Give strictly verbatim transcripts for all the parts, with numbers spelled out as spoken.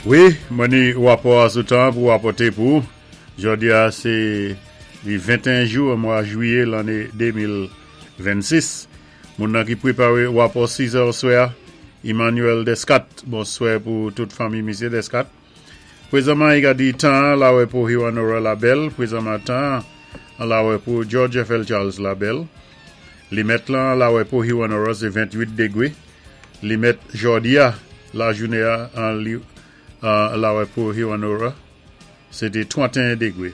Wi, mwen ni wapò sou tan pou wapòté pou. Jòdi-a sé li venteyen jou mwa jwiyé lanné de mil vennsis. Moun nan ki pwépawé wapò sis è oswè, Emmanuel Descat. Bonswè pou tout fanmi misyé Descat. Pwézanman, i ka di tan lawè pou Hewanorra la bèl. Pwézanman tan lawè pou George F L. Charles la bèl. Limèt lan lawè pou Hewanorra sé venntwit dégwé. Limèt jòdi-a lajounen an li lawè pou Hewanorra, sé té tranteyen dégwé.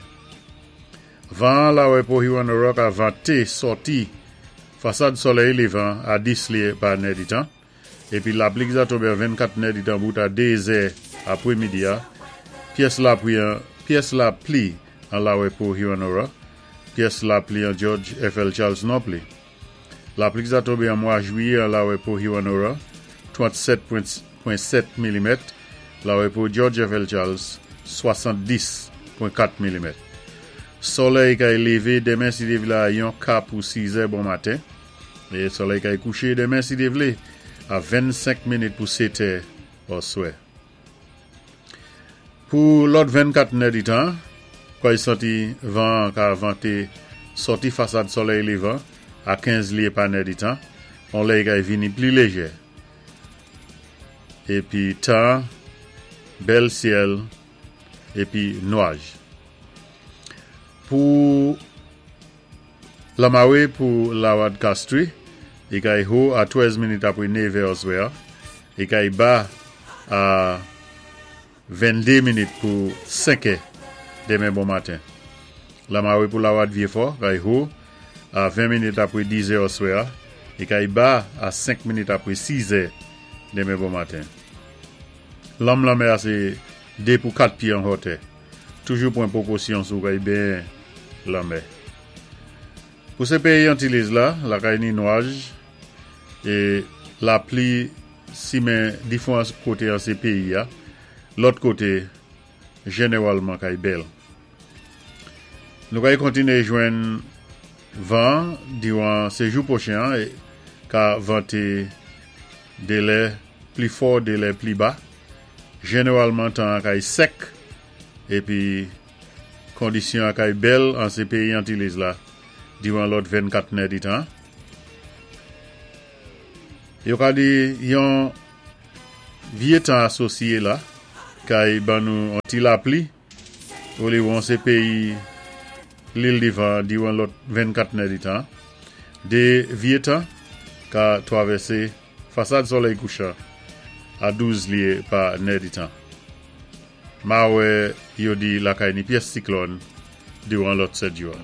Van lawè pou Hewanorra ka vanté sòti fasad solèy lévan a dis lyé pa nèditan. Épi lapli ki za tonbé an vennkat nèditan bout a dé zè apwémidi-a. Pyès lapli an, pyès lapli an lawè pou Hewanorra, pyès lapli an George F L. Charles non pli. Lapli ki za tonbé an mwa jwiyé an lawè pou Hewanorra, trannsèt pwen sèt milimèt, lawè pou George F L. Charles, swasanndiz pwen kat milimèt. Solèy kay lévé denmen si Dye vlé a yon ka pou sis è bon maten. É solèy kay kouché denmen si Dye vlé a vennsenk minit pou sèt è oswè. Pou lòt vennkat nèditan, kay santi van ka vanté sòti fasad solèy lévan a kenz lyé pa nèditan, on lè kay vini pli léjè. Épi tan, bèl syèl, épi nwaj. Pou lamawé pou Lawad Castries, i kay wo a twèz minit apwé nèv è oswè, i kay ba a venndé minit pou senk è denmen bon maten. Lamawé pou Lawad Vyéfò, kay wo a ven minit apwé diz è oswè, i kay ba a senk minit apwé sis è denmen bon maten. Lanm lanmè a sé dé pou kat pyé an wotè. Toujou pwan pwékosyon si ou kay benyen lanmè. Pou sé péyi Antiliz la, lakay ni nwaj, é lapli simen difwan koté an sé péyi-a, lòt koté, jénéwalman kay bèl. Nou kay kontiné jwenn van diwan sé jou pwochen ka vanté dé lè pli fò, dé lè pli ba. Jénéwalman tan kay sèk, épi kondisyon kay bèl an sé péyi Antiliz la, diwan lòt vennkat nèditan. Yo ka di yon vyé tan asosyé la, kay ban nou an ti lapli, ou li won sé péyi Lil Divan diwan lòt vennkat nèditan. Dé vyé tan ka twavèsé fasad solèy kouchan a douz lyé pa nèditan. Ma wè yo di lakay ni pyès siklòn diwan lòt sèt jou.